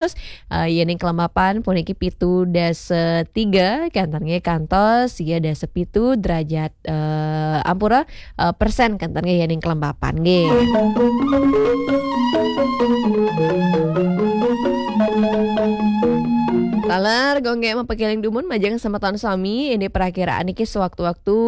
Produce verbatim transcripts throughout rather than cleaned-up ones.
Terus, eh, yéning kelembapan puniki pitu dasa tiga, kénten nggih, kantos sia dasa pitu derajat, eh, ampura, eh, persen kénten nggih yéning kelembapan nggih. Taler, Gung Gék mapakéling dumun majeng semeton sami, ini perakiraan niki sewaktu-waktu,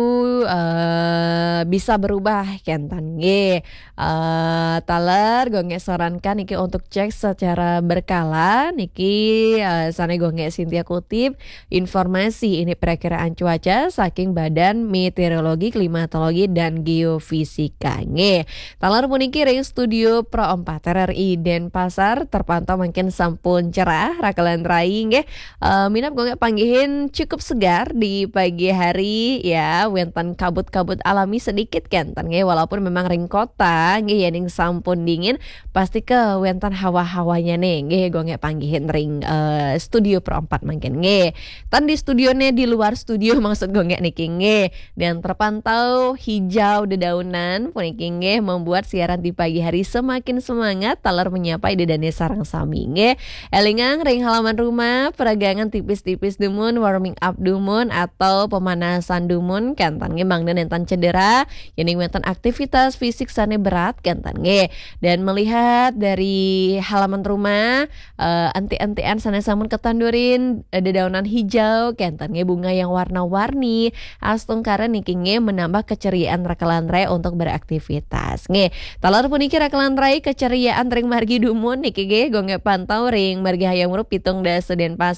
eh, bisa berubah kénten nggih. Eh, taler, Gung Gék sarankan niki untuk cek secara berkala niki, eh, sané Gung Gék Sintia kutip informasi ini perakiraan cuaca saking Badan Meteorologi, Klimatologi, dan Geofisika nggih. Taler puniki ring studio Pro empat R R I Denpasar terpantau mangkin sampun cerah, rakelan rai nggih. Eh, minab Gung Gék panggihin cukup segar di pagi hari ya, wénten kabut-kabut alami sedikit kénten nggih, walaupun memang ring kota nggih yéning sampun dingin, pasti ké wénten hawa-hawanya nih nggih, Gung Gék panggihin ring, eh, studio Pro empat mangkin nggih. Tan di studio nih, di luar studio maksud Gung Gék niki nggih. Dan terpantau hijau dedaunan puniki nggih membuat siaran di pagi hari semakin semangat taler menyapa ida dané sareng sami nggih. Élingang ring halaman rumah, peregangan tipis-tipis dumun, warming up dumun, atau pemanasan dumun, kénten nggih mangda nénten cedera, yéning wénten aktivitas fisik sané berat, kénten nggih. Dan melihat dari halaman rumah, eh, enti-entian sané sampun ketandurin, eh, dedaunan hijau, kénten nggih bunga yang warna-warni, astungkara niki nggih menambah keceriaan rakelan rai untuk beraktivitas. Nggih, taler puniki rakelan rai keceriaan ring margi dumun niki nggih, Gung Gék pantau ring margi Hayam Wuruk pitung dasa Denpasar.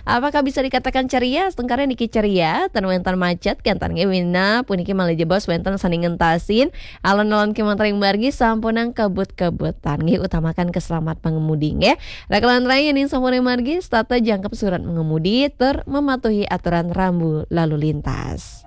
Apakah bisa dikatakan ceria? Astungkara niki ceria, tan wénten macet, kénten nggih minab puniki malih jebos wénten sané ngentasin alon-alon kémanten ring margi sampunang kebut-kebutan. Nggih, utamakan keselamatan pengemudi nggih. Rakelan rai yéning sampun ring margi, setata jangkep surat mengemudi, tur mematuhi aturan rambu lalu lintas.